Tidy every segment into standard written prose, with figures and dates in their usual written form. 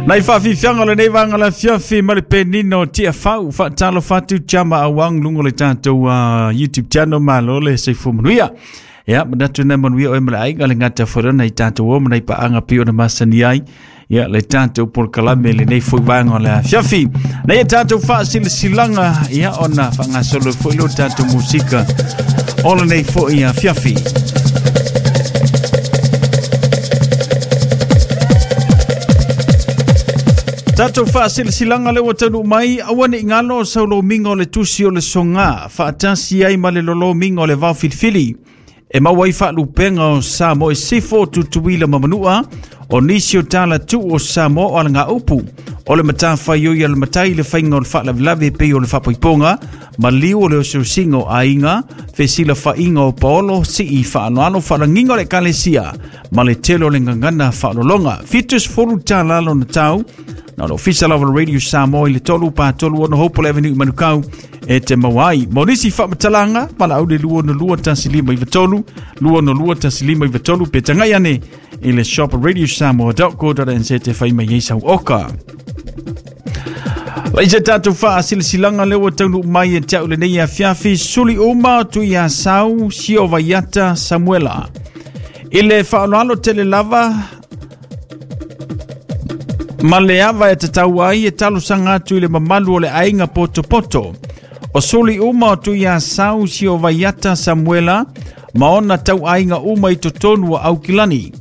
Nai faafiafiaga o lenei vaega o le afiafi ma le penina o Tiafau. Faatalofa atu Chama Awang luga o le tatou YouTube channel. Malo le soifua manuia. Ia, manatu na manuia oe ma le aiga le gata foi lona i tatou o ma nai paaga pei ona masani ai. Ia, le tatou polokalame lenei foi vaega o le afiafi. Nei e tatou faasilasilaga, ia, ona faagasolo foi leo tatou musika o lenei foi afiafi. Tatou faasilasilaga lea ua taunuu mai, aua ne i galo saulomiga o le tusi o le soga faatasi ai ma le lolomiga o le vao filifili e maua ai faalupega o Samoa i Sifo, Tutuila ma Manua, o nisi o tala tuu o Samoa o alagaupu o le matafaioi a le matai le faiga o le faalavelave pei o le faapoipoga maliu o le osiosiga o aiga, fesilafaiga o paolo, sii faaaloalo, faalagiga o le ekalesia ma le tele o le gagana faalologa. 70 tala lona tau na o le ofisa lava o le Radio Samoa i le 3 pa 3 6 Hopewell Avenue i Manukau e te maua ai. Mo nisi faamatalaga, valaau le 262 1593, 262 1593 pe tagai ane i le shop radiosamoa.co.nz te whai mai ei sau oka. Lai se tātou whaasilasilaga lea ua taunuu mai e te au lenei afiafi, suli uma tu ia sau sio vaiata Samuela. I le whaaloalo tele lava, ma le ava e tatau ai e talosaga atu i le mamalu o le aiga potopoto. O suli uma o Tuiasau sio vaiata Samuela ma ona tauaiga uma i totonu o Aukilani.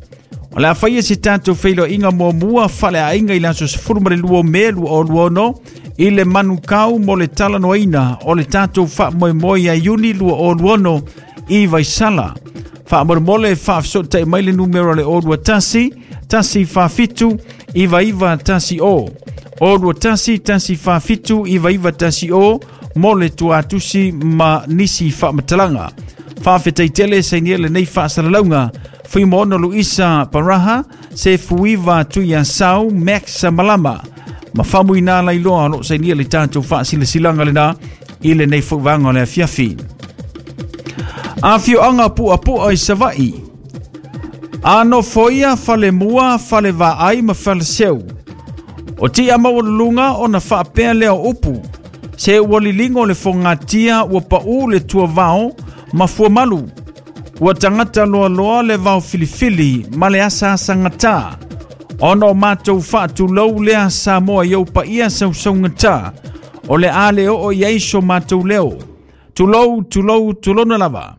O le a faia se tatou feiloaiga muamua faaleaiga i le aso 12 o Me 2026 i le Manukau mo le talanoaina o le tatou faamoemoe ia Iuni 2026 i Vaisala. Faamolemole faafesootai mai le numera o le 021 147 9910 021 147 9910 mo le tuatusi ma nisi faamatalaga. Faafetai tele sainia lenei faasalalauga. Fuimaono Luisa Paraha, se Fuiva Tuiasau, Max Malama. Ma famuina lailoa o loo sainia le tatou faasilasilaga lena i lenei foi vaega o le afiafi. Afioaga Puapua i Savaii. A nofoia falemua, falevaai ma faleseu. O tia maualuluga ona faapea lea o upu. Se ua liligo le fogatia ua pau le tuavao ma fuamalu. Ua tagata loaloa le vao filifili ma le asaasagata. Ona o matou faatulou lea Samoa i ou paia sausaugata. O le a le oo i ai so matou leo. Tulou, tulou, tulona lava.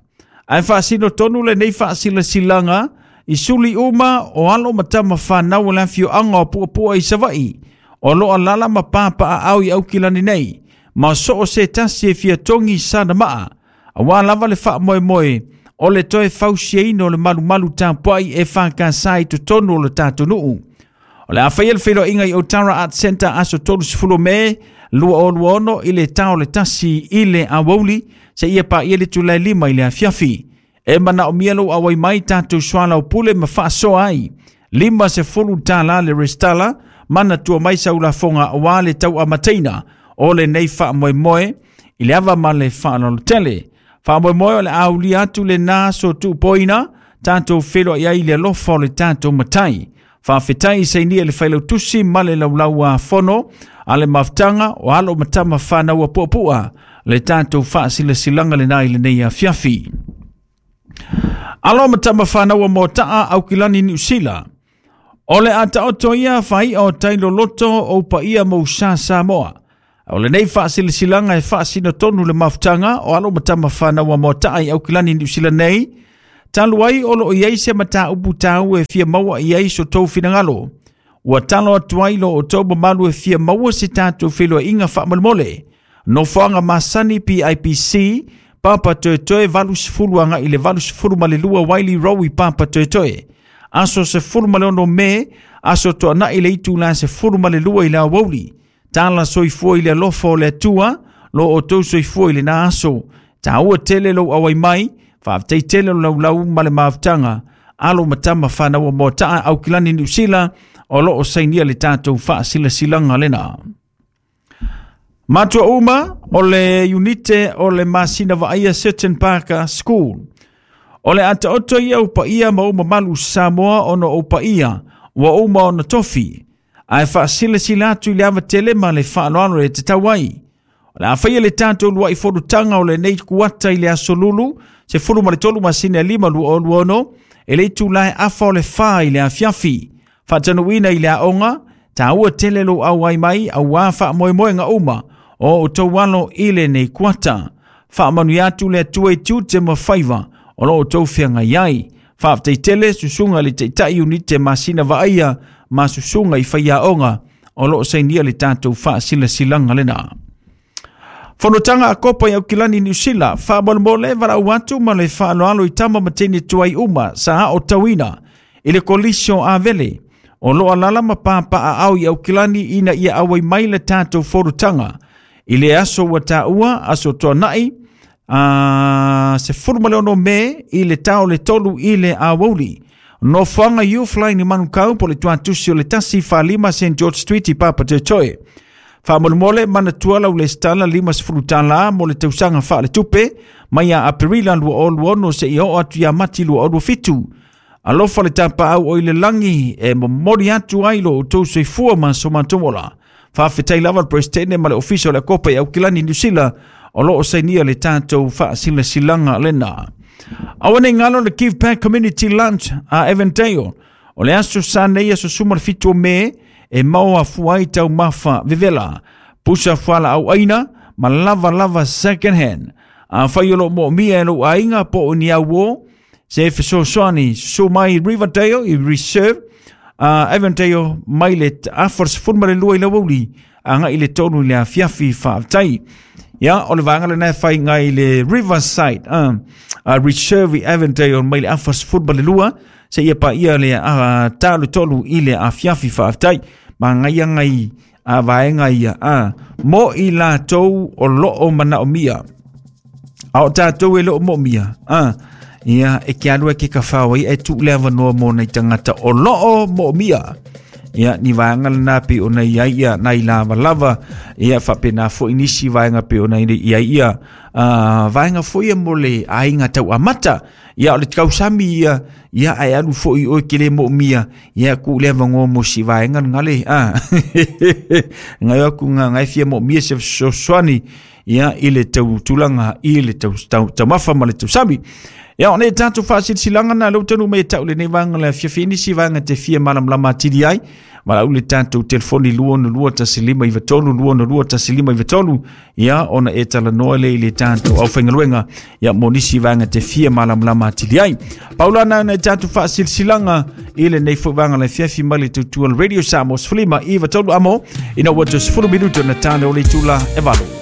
Ae faasino tonu lenei faasilasilaga i suli uma o alo ma tama whanau o le afioaga o Puapua i Savaii. O lo alala ma pāpaaau i Aukilani nei. Ma so o se tasi e fia togi sana maa. Auā lava le faamoemoe o le toe fausiaina o le malumalu tapuai e whakasa i totonu o le tatou nuu. O le a faia le feiloaiga i Otara Art Centre aso 30 Me 2026 i le tao le 1 i le aoauli seia paia le itula e 5 i le afiafi. E manaomia lou auai mai tatou soalaupule ma faasoa ai. $50 le resitala, manatua mai sau lafoga aua le tauamataina o lenei faamoemoe i le ava ma le faaaloalo tele. Faamoemoe o le a aulia atu lena aso tuupoina, tatou feiloai ai i le alofa o le tatou Matai. Faafetai i sainia le failautusi ma le laulau a fono a le mafutaga o alo ma tama whanau a puapua le tatou faasilasilaga lena i lenei afiafi. Alo ma tama whanau a Mota'a Aukilani Niu Sila. O le a taoto ia whaia o tai loloto o upaia mo sa Samoa. O lenei faasilasilaga e faasino tonu le mafutaga o alo ma tama whanau a Mota'a i Aukilani Niu Sila nei, talu ai o loo i ai se mataupu taua e fia maua i ai so tou finagalo. Ua talo atu ai lo outou mamalu e fia maua se tatou feiloaiga faamolemole. Nofoaga masani PIPC, Papa Toetoe 80 agai i le 82 Wiley Row i Papa Toetoe. Aso 16 Me, aso toanai le itula 12 i le aoauli. Tala soifua i le alofa o le Atua, lo outou soifua i lena aso. Taua tele lou auai mai, faafetai tele o laulau ma le mafutaga. Alo ma tama whanau o Mota'a Aukilani Niu Sila, o loo sainia le tatou faasilasilaga lena. Matua uma o le unite o le masina vaaia Seton Park School. O le ataoto ia o paia ma o mamalu Samoa ona o paia ua uma ona tofi. Ae faasilasila atu i le ava tele ma le faaaloalo e tatau ai. O le a faia le tatou lua'i fonotaga o lenei kuata i le aso Lulu, 13 masina e 5 2026, e le itula e 3:30 i le afiafi. Faatanuuina i le aoga, taua tele lou auai mai auā faamoemoega uma o outou alo i lenei kuata. Faamanuia atu le Atua i tiute ma faiva o lo outou feagai ai. Faafetai tele susuga i le Taitai Iunite Masina Vaaia ma susuga i faiaoga o lo o sainia le tatou faasilasilaga lena. Fonotaga a Kopa i Aukilani Niu Sila, faamolemole valaau atu ma le faaaloalo i tama ma teine tuai uma sa aotauina i le kolisi o Avele o lo o alaala ma papaaao i Aukilani ina ia auai mai le tatou fonotaga i le aso ua taua, aso Toonai, 16 Me i le tao le 3 i le aoauli. Nofoaga Youthline i Manukau po o le tuatusi o le 145 St George Street i Papatoetoe. Faamolemole manatua lau lesitala $50 mo le tausaga faaletupe mai ia Aperila 2026 seia oo atu ia Mati 2027. Alofa le tapaau o i le lagi e momoli atu ai lo outou soifua ma so matou ola. Faafetai lava le Peresetene ma le Ofisa o le Akopa i Aukilani Niu Sila o lo o sainia le tatou faasilasilaga lena. Aua nei galo le Give Back Community Lunch a Avondale. O le aso sa nei aso 17 o Me e maua fua ai taumafa vevela, pusa fualaau aina ma lava lava second hand. Afai o lo o moomia e lou aiga po o ni auō, se fesoasoani susu mai Riverdale i Reserve, Avondale mai le 12:30 i le aoauli agai i le 3 i le afiafi. Faafetai. Ia, o le vaega lena e fai ngai le Riverside Reserve i Avondale mai le 12:30 seia paia le 3 i le afiafi. Faafetai. Magaia ngai a vaega ia mo i latou o lo o manaomia. A o tatou e le o moomia, ia e ke alu e ke kawhao ai e tu le avanoa mo nei tangata o lo o moomia. Ia ni vaega lena pe o nei ai ia nai lava lava ia faapena foi nisi vaega pe o nei ia ia vaega foi ia mo le aiga tau amata. Ia o le tausami ia ia ae alu foi oe ke le moomia ia ku le avanoa mo si vaega ngale ngai aku nga ngai fia moomia se fesoasoani ia i le tau tulaga i le tau taumafa ma le tausami. Ia o nei tatou faasilasilaga na leu tanu mai e tau lenei vaega le afiafi nisi vaega te fia malamalama atili ai. Valaau le tatou telefoni 262 1593 262 1593 ia ona e talanoa le i le tatou aufaigaluega ia mo nisi vaega te fia malamalama atili ai. Paula na nei tatou faasilasilaga i lenei foi vaega le afiafi mai le tautua Radio Samoa 15 93 amo ina ua toe 10 minuto na tane o le itula e 8.